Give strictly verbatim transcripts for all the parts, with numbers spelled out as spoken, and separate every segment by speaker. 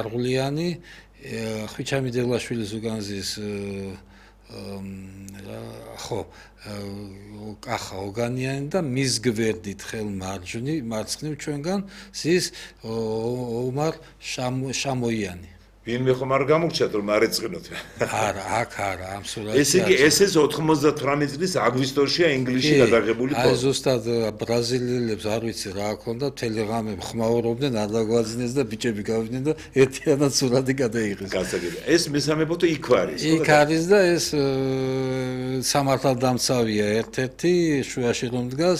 Speaker 1: მარღულიანი, ხვიჩამი დელაშვილის უგანზის ხო კახა ოგანიანი და მის გვერდით ხელ მარჯვნი მარცხნივ ჩვენგან ზის ომარ შამოიანი.
Speaker 2: ვინმე ხომ არ გამორჩათ რომ არ ეწყინოთ.
Speaker 1: არა, აქ არა, ამ სურათში.
Speaker 2: ესე იგი ეს ეს ოთხმოცდათვრამეტი წლის აგვისტოშია ინგლისში გადაღებული
Speaker 1: ფото. აი ზუსტად ბრაზილიელებს არ ვიცი რა ჰქონდა, ტელეგრამები ხმაურობდნენ, არ დაგვაძინეს და ბიჭები გავიდნენ და ერთიანად სურათი გადაიღეს.
Speaker 2: გასაგებია. ეს მესამე ფото იქ არის.
Speaker 1: იქ არის და ეს სამართალდამცავია ერთ-ერთი შუაში რომ დგას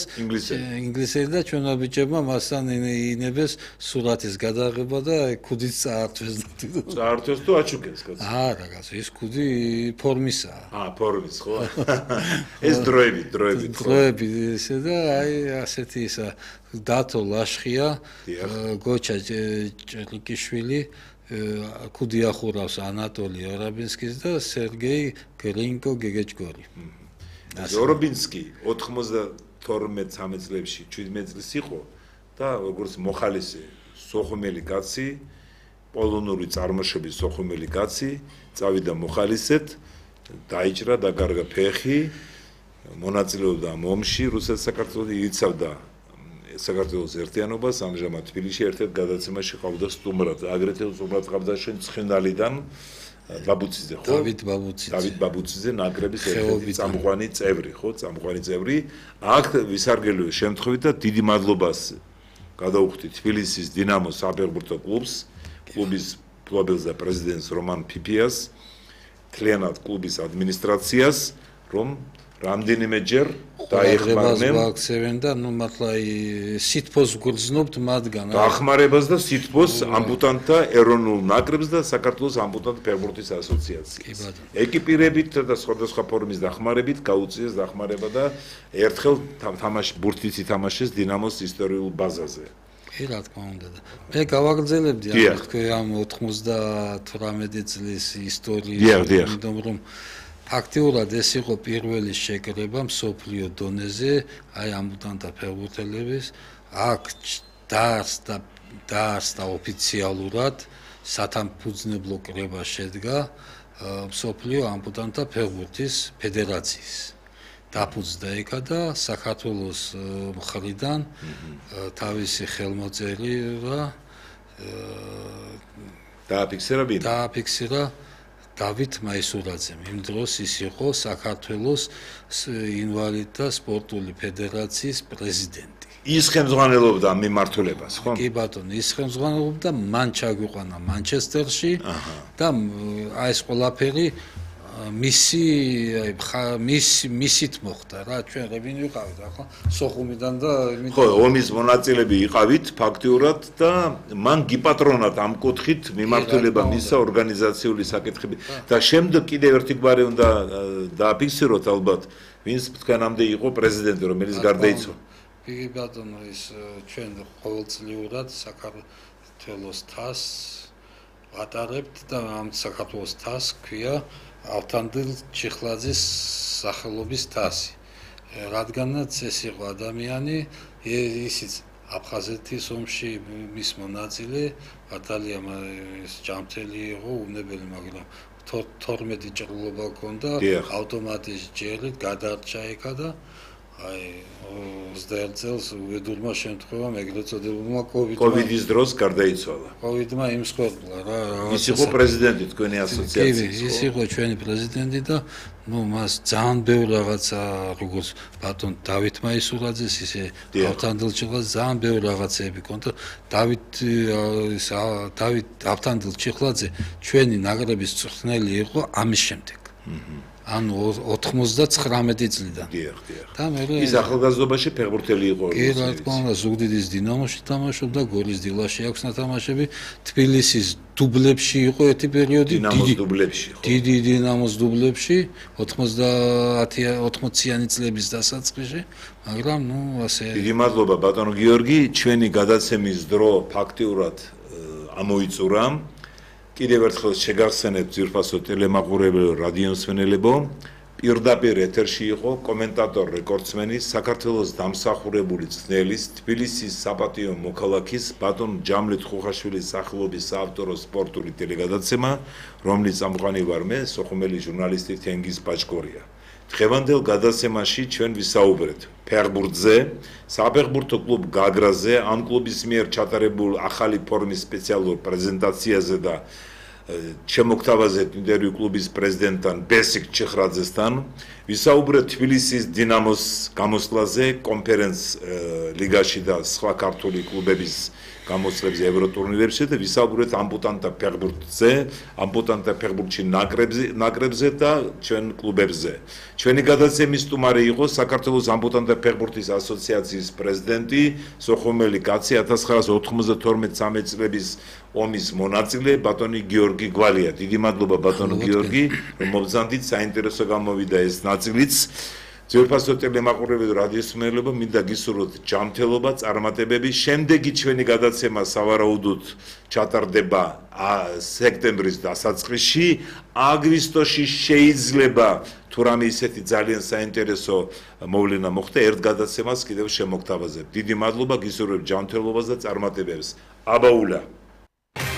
Speaker 1: ინგლისელი და ჩვენმა ბიჭებმა მასთან ინებეს სურათის გადაღება და ქუდით წაართვეს და
Speaker 2: წაართვეს თუ აჩუქეს კაცო.
Speaker 1: არა, კაცო, ეს ქუდი ფორმისაა.
Speaker 2: აა, ფორმის, ხო? ეს დროები, დროები.
Speaker 1: დროები ესე და აი ასეთი ისა დათო ლაშხია, გოჩა ჭრიკიშვილი, ქუდი ახურავს ანატოლი ორობინსკის და სერგეი გრინკო გეგეჭგორი.
Speaker 2: ორობინსკი ოთხმოცდათორმეტ ცხრამეტ წლებში შვიდმეტ წლის იყო და როგორც მოხალისე სოხუმელი კაცი პოლონური წარმოშობის სოხუმელი კაცი წავიდა მოხალისეთ, დაიჭრა და გარგა ფეხი, მონაწილეობდა ომში რუსეთ-საქართველოს, იცავდა საქართველოს ერთიანობას, ამჟამად თბილისში ერთ-ერთ გადაცემაში ყავდა სტუმრად, აგრეთვე სტუმრად ყავდა შენ ცხენდალიდან ბაბუციძე, ხო?
Speaker 1: დავით ბაბუციძე.
Speaker 2: დავით ბაბუციძე ნაკრების ერთ-ერთი წამყვანი წევრი, ხო? წამყვანი წევრი. აქ ვისარგებლო შემთხვევით და დიდი მადლობას გადაუხდი თბილისის დინამოს საფეხბურთო კლუბს. კლუბის ფლობელს და პრეზიდენტს რომან ფიფიას, თლიანად კლუბის ადმინისტრაციას, რომ რამდენიმეჯერ დაეხმარნენ
Speaker 1: ვაქცევენ და ნუ მართლა სითფოს გრძნობთ მათგან.
Speaker 2: დახმარებას და სითფოს ამბუტანტთა ეროვნულ ნაკრებს და საქართველოს ამბუტანტ ფეხბურთის ასოციაციას. ეკიპირებით და სხვადასხვა ფორმის დახმარებით გაუწიეს დახმარება და ერთხელ თამაში ბურთიც ითამაშეს დინამოს ისტორიულ ბაზაზე.
Speaker 1: კი, რა თქმა უნდა და მე გავაგრძელებდი ამ თქვენ ამ ოთხმოცდათვრამეტი წლის ისტორიას, იმიტომ რომ ფაქტიურად ეს იყო პირველი შეკრება მსოფლიო დონეზე, აი ამბუტანტთა ფეხბურთელების, აქ დაარსდა დაარსდა ოფიციალურად სათანადო კრება შედგა მსოფლიო ამბუტანტთა ფეხბურთის ფედერაციის. დაფუძნდა ეკა და საქართველოს მხრიდან თავისი ხელმოწერი და
Speaker 2: დააფიქსირა ბინა.
Speaker 1: დააფიქსირა დავით მაისურაძემ. იმ დროს ის იყო საქართველოს ინვალიდთა სპორტული ფედერაციის პრეზიდენტი.
Speaker 2: ის ხელმძღვანელობდა მიმართულებას, ხო?
Speaker 1: კი ბატონო, ის ხელმძღვანელობდა, მან ჩაგვიყვანა მანჩესტერში და აი ეს ყველაფერი მისი მისი მისით მოხდა რა, ჩვენ რევინ ვიყავით ახლა სოხუმიდან და
Speaker 2: ხო, ომის მონაწილეები იყავით ფაქტიურად და მან გიპატრონათ ამ კუთხით მიმართულება მისცა ორგანიზაციული საკითხები და შემდეგ კიდევ ერთი გვარი უნდა დააფიქსიროთ ალბათ, ვინც თქვენამდე იყო პრეზიდენტი, რომელიც გარდაიცვალა.
Speaker 1: კი ბატონო, ის ჩვენ ყოველწლიურად საქართველოს თასს ვატარებთ და ამ საქართველოს თასს ქვია ავთანდილ ჩიხლაძის სახელობის თასი. რადგანაც ეს იყო ადამიანი, ისიც აფხაზეთის ომში მის მონაწილე, ბატალია ჯამთელი იყო, უნებელი, მაგრამ თორმეტი ჭრილობა ჰქონდა, ავტომატის ჯერით გადარჩა ეკა და აი ოცდაერთ წელს უბედურმა შემთხვევამ ეგრეთ წოდებულმა კოვიდმა
Speaker 2: კოვიდის დროს გარდაიცვალა.
Speaker 1: კოვიდმა იმსხვერპლა რა.
Speaker 2: ის იყო პრეზიდენტი თქვენი ასოციაციის.
Speaker 1: კი, ის იყო ჩვენი პრეზიდენტი და ნუ მას ძალიან ბევრი რაღაცა როგორც ბატონ დავით მაისურაძეს ისე ავთანდილ ჩიხლაძეს ძალიან ბევრი რაღაცები ჰქონდა. დავით დავით ავთანდილ ჩიხლაძე ჩვენი ნაკრების მწვრთნელი იყო ამის შემდეგ. ანუ ოთხმოცდათხრამეტი წლიდან.
Speaker 2: დიახ, დიახ.
Speaker 1: და მე
Speaker 2: ის ახალგაზრდობაში ფეხბურთელი იყო.
Speaker 1: კი, რა თქმა უნდა, ზუგდიდის დინამოში თამაშობდა, გორის დილაში აქვს ნათამაშები, თბილისის დუბლებში იყო ერთი პერიოდი,
Speaker 2: დინამოს დუბლებში, ხო.
Speaker 1: დიდი დინამოს დუბლებში, ოცდაათიანი წლების დასაწყისში, მაგრამ ნუ ასე.
Speaker 2: დიდი მადლობა ბატონო გიორგი, ჩვენი გადაცემის დრო ფაქტიურად ამოიწურა. კიდევ ერთხელ შეგახსენებთ ძვირფასო ტელემაყურებელო, რადიომსმენელებო, პირდაპირ ეთერში იყო კომენტატორ რეკორდსმენი საქართველოს დამსახურებული ძნელის თბილისის საპატიო მოქალაქის ბატონ ჯამლეთ ხუხაშვილის სახელობის საავტორო სპორტული ტელეგადაცემა, რომლის წამყვანი ვარ მე, სოხუმელი ჟურნალისტი თენგიზ ბაჭკორია. დღევანდელ გადაცემაში ჩვენ ვისაუბრეთ ფეხბურთზე, საფეხბურთო კლუბ გაგრაზე, ამ კლუბის მიერ ჩატარებულ ახალი ფორმის სპეციალურ პრეზენტაციაზე და შემოგთავაზეთ ინტერვიუ კლუბის პრეზიდენტთან ბესიკ ჩეხრაძესთან. ვისაუბრეთ თბილისის დინამოს გამოსვლაზე, კონფერენც ლიგაში და სხვა ქართული კლუბების გამოსვლებზე ევროტურნირებში და ვისაუბრეთ ამპუტანტთა ფეხბურთზე, ამპუტანტთა ფეხბურთში ნაკრებზე, ნაკრებზე და ჩვენ კლუბებზე. ჩვენი გადაცემის სტუმარი იყო საქართველოს ამპუტანტთა ფეხბურთის ასოციაციის პრეზიდენტი, სოხუმელი კაცი ათას ცხრაასი ოთხმოცდათორმეტ წამეტ წლების ომის მონაწილე ბატონი გიორგი გვალია. დიდი მადლობა ბატონო გიორგი, რომ მობრძანდით, საინტერესო გამოვიდა ეს ნაწილიც. ძვირფასო ტელემაყურებელი რადიოსმენელობა, მინდა გისურვოთ ჯანმრთელობა, წარმატებები. შემდეგი ჩვენი გადაცემა სავარაუდოდ ჩატარდება სექტემბრის დასაწყისში. აგვისტოში შეიძლება თუ რამე ისეთი ძალიან საინტერესო მოვლენა მოხდა, ერთ გადაცემას კიდევ შემოგთავაზებთ. დიდი მადლობა, გისურვებთ ჯანმრთელობას და წარმატებებს. აბაულა